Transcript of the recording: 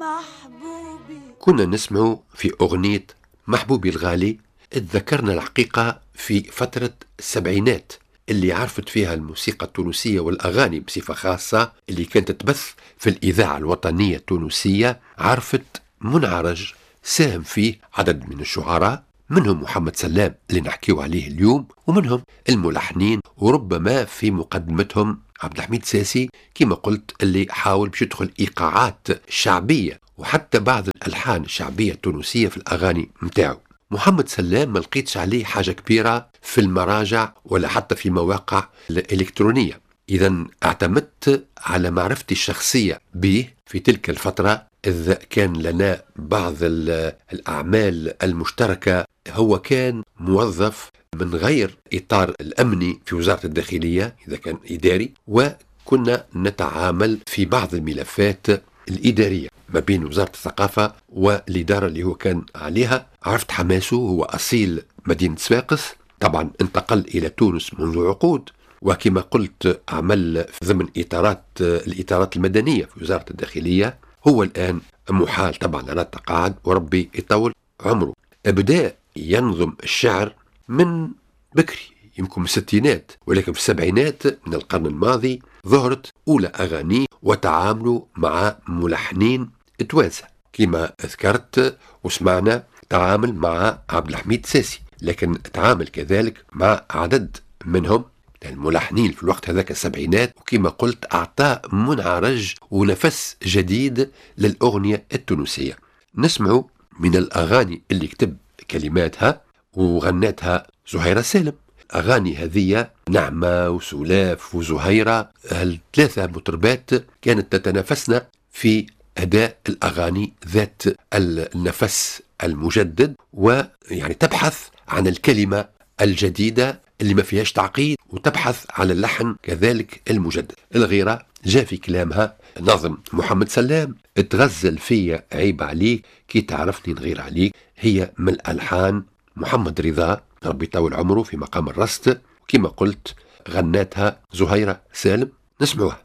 محبوبي. كنا نسمع في أغنية محبوبي الغالي، اتذكرنا الحقيقة في فترة السبعينات اللي عرفت فيها الموسيقى التونسية والأغاني بصفة خاصة اللي كانت تبث في الإذاعة الوطنية التونسية، عرفت منعرج ساهم فيه عدد من الشعراء، منهم محمد سلام اللي نحكيو عليه اليوم، ومنهم الملحنين، وربما في مقدمتهم عبد الحميد ساسي كما قلت اللي حاول باش يدخل إيقاعات شعبية وحتى بعض الألحان الشعبية التونسية في الأغاني متاعه. محمد سلام ما لقيتش عليه حاجة كبيرة في المراجع ولا حتى في مواقع الإلكترونية، إذا اعتمدت على معرفتي الشخصية به في تلك الفترة، إذ كان لنا بعض الأعمال المشتركة. هو كان موظف من غير إطار الأمني في وزارة الداخلية إذا كان إداري، وكنا نتعامل في بعض الملفات الإدارية ما بين وزارة الثقافة والإدارة اللي هو كان عليها. عرفت حماسه، هو أصيل مدينة صفاقس، طبعا انتقل إلى تونس منذ عقود، وكما قلت عمل ضمن الإطارات المدنية في وزارة الداخلية. هو الآن محال طبعا على التقاعد وربي يطول عمره. بدأ ينظم الشعر من بكري، يمكن من الستينات، ولكن في السبعينات من القرن الماضي ظهرت أولى أغانيه وتعاملوا مع ملحنين توانسة كما ذكرت وسمعنا. تعامل مع عبد الحميد ساسي، لكن تعامل كذلك مع عدد منهم الملحنين في الوقت هذاك السبعينات، وكما قلت أعطى منعرج ونفس جديد للأغنية التونسية. نسمع من الأغاني اللي كتب كلماتها وغنتها زهيرة سالم. أغاني هذه نعمة وسلاف وزهيرة، الثلاثة مطربات كانت تتنافسن في أداء الأغاني ذات النفس المجدد، ويعني تبحث عن الكلمة الجديدة اللي ما فيهاش تعقيد، وتبحث على اللحن كذلك المجدد. الغيرة جاء في كلامها نظم محمد سلام، تغزل فيا عيب عليك كي تعرفني نغير عليك، هي من الألحان محمد رضا ربي يطول عمره في مقام الرست، كما قلت غناتها زهيرة سالم. نسمعوها.